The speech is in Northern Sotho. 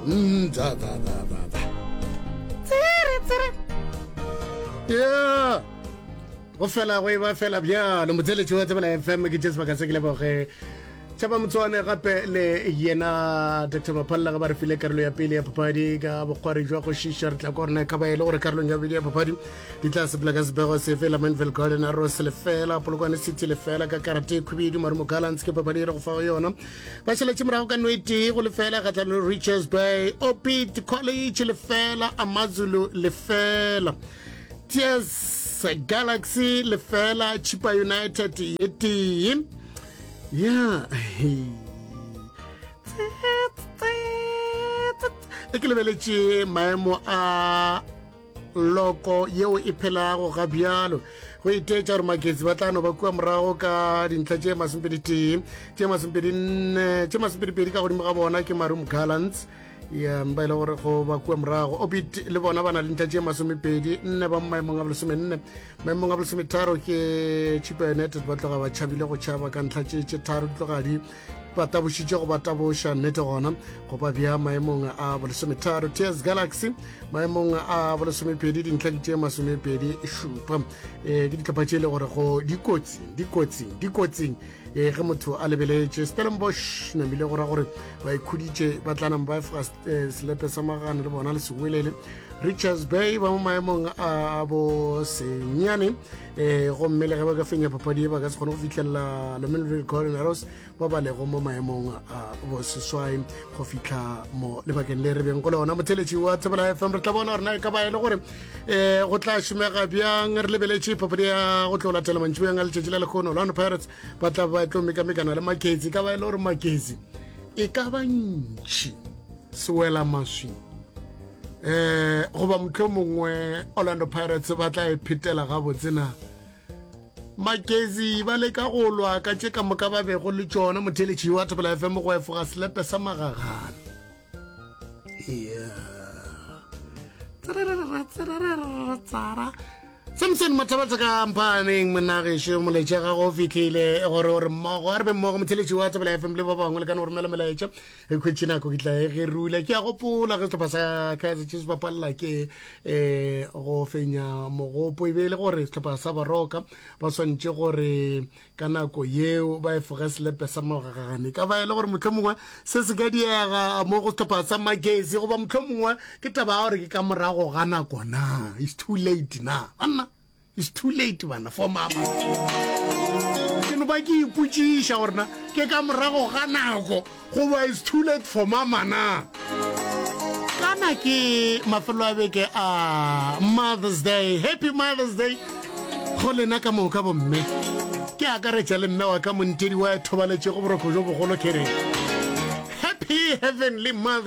Mm, tsa tsa tsa tsa tsa. Tsere tsere. Yeah. Go fela go e ba fela bjalo motheletši wa Tsebela FM ke tše sebaka se ke leboge Tšhaba Motswane gape le yena Dr Maphalla ge ba re file karolo ya pele ya papadi ka bokgwari jwa go šiša re tla kwa rena ka ba e le gore karolong ya bobedi ya papadi di tla sepela ka sebego sefe Lamanville Garden Arrows lefela Polokwane City lefela ka karate e khubedu Marumo Gallants ke papadi e re go fago yona ba šaletše morago ka no e tee go lefela kgatlhanong le Richards Bay Opit College lefela Amazulu lefela Tears Galaxy lefela Chipa United ye tee ya e ke lebeletše maemo a loko yeo e phelago ga bjalo go iteetša gore maketsi ba tla no ba kua morago ka dintlha tše masomepeditee tše masomepedinne tše masomepedipedi ka godimo ga bona ke marum gallants ya ba e le gore go ba kua morago obit le bona ba na le ntlha tše masomepedi nne ba mo maemong a bolesomenne maemong a bolesometharo ke chipa united ba tloga ba tšhabile go tšhaba ka ntlha tše tše tharo di tloga di ba tabošitše go ba taboša nnete gona go ba bja maemong a bolesometharo ts galaxy maemong a bolesomepedi dintlha di tše masomepedi šupa um ke ditlhopha tše e le gore go dikotsing dikotsing dikotsing e ge motho a lebeletše stellenbosch namile go ra gore ba ikhuditše ba tla nama ba efoga eh, selepe sa magano le bona le sewelele richards bay ba mo maemong a bo senyane um gomme le ge ba ka fenya papadi e ba ka se kgone go fitlhelela lomenville golden arrows ba ba lego mo maemong a bo seswai go fitlha mo lebakeng le re beng go lona motheletši wa tsebela fm re tla bona gore na e ka ba e le gore um go tla šomega bjang re lebeletše papadi ya go tlo latela mantšiboeng a letšatši la lekgono orlando pirates ba tla ba tlo mekamekana le maketsi ka ba e le gore maketsi e ka ba ntšhi sewela maswi um goba motlho mongwe orlando pirates ba tla e phetela gabotse na makezi ba leka go lwa ka tše ka moka ba bego le tšona motheletši wa thobela fm go efoga selepe sa magagane yeah samson mathabatsa ka mphaneng monagešo molaetša gago o fitlhile gore gore mmogo a re be mmogo motheletši wa tsebela fm le ba bangwe le ka no romela melaetša e khwetše nako ke tla e ge rula ke a gopola ge sehlopha sa kaizer chiefs ba palela ke um go fenya mogopo e be e le gore sehlopha sa baroka ba swantše gore ka nako yeo ba efoge selepe sa mogagane ka ba e le gore motlho mongwe se se ka diega mo go setlhopha sa magesi goba motlho mongwe ke taba ya gore ke ka morago ga nako na it's too late na banna it's too late bana for mama ke no ba ke ipotšiša gore na ke ka morago ga nako goba it's too late for mama na kana ke mafelo a beke a mother's day happy mother's day go lena ka moka bomme ke akaretša le mme wa ka montedi wa thobaletšego boroko jo bogolo ke re happy heavenly mother's.